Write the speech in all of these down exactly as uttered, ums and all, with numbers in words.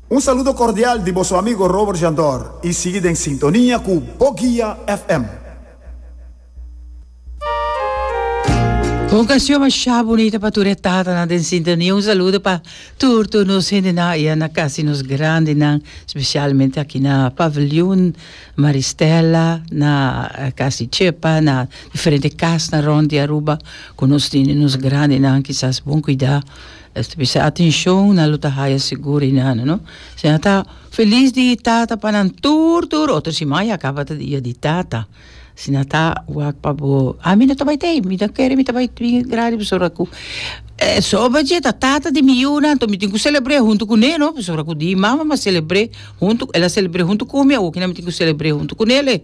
Un saludo cordial di boso amigo Robert Jandor y sigui den sintonia cu Bo Guia F M. Un canción masha bunita pa tur e tatanan den sintonia. Un saludo pa tur tur nos hendenan aya na casi nos grandenan, specialmente aki na Paviljoen Maristella, na Casi Chepa, na diferente casnan rond di Aruba cu nos tene nos grandenan kisas bon cuida. Es ta bisa atencion nan lo ta haya sigur y nan no. Si nan ta feliz di tata pa nan tur tur otro siman ya caba ta dia di tata. Si nan ta wak pa bo ami no ta bay tey mi ta kere mi ta bay bin grandi pasobra cu soba dje ta tata di mi yunan anto mi tin cu celebre hunto cune no pasobra cu di mama mi a celebre hunto el a celebre hunto cu mi awo kina mi tin cu celebre hunto cunele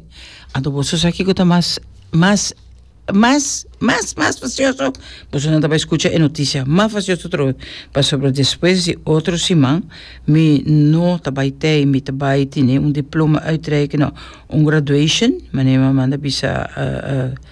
anto boso sa kico ta mas mas Mas, mas, mas fasioso, boso nan ta bai skucha e notisia mas fasioso atrobe, pasobra despues di otro siman mi no ta bai tei, mi ta bai tene un diploma uitreiken, no, un graduation, manera mi a manda bisa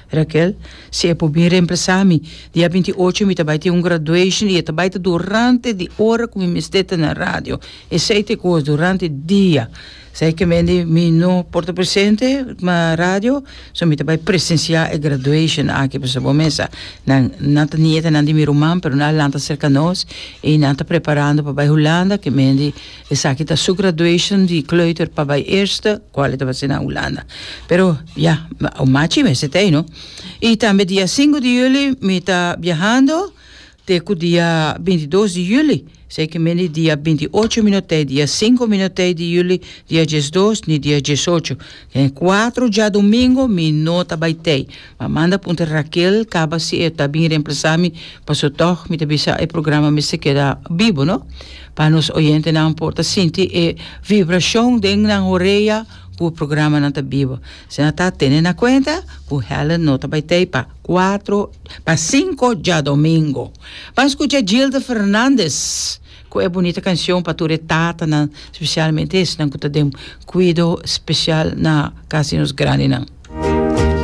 Raquel, si e por bin reemplasa mi. Dia binti ocho mi ta bai tin un graduation i e ta bai ta durante di ora ku mi mester ta na radio, esei ta e kos, durante dia. Esei ke mende mi no por ta presente na radio, so mi ta bai presencia e graduation aki pasobra bo mesa nan nan ta nietanan di mi ruman pero nan a lanta serka nos y nan ta preparando pa bai Hulanda ke mende esaki ta su graduation di kleuter pa bai eerste cual e ta base na Hulanda pero ya un machi mester ta ei no y tambe dia sinku di juli mi ta biahando te ku dia binti dos di juli. Esei ke mende dia binti ocho mi no tei, dia sinku mi no tei di juli, dia diesdos ni dia diesocho. Den kuatro djadumingu mi no ta bai tei. Ma manda puntra Raquel kaba si e ta bin reemplasa mi, paso tog mi ta bisa e programa mester keda bibo no, pa nos oyentenan por ta sinti e vibrashon den nan horea ku e programanan ta bibo. Asina ta tene na kuenta ku Helen no ta bai tei pa kuatro pa sinku djadomingo. Ban skucha Gilda Fernandez ku e bunita kanshon pa tur e tatanan, spesialmente esnan ku ta den kuido spesial na kas di nos grandinan.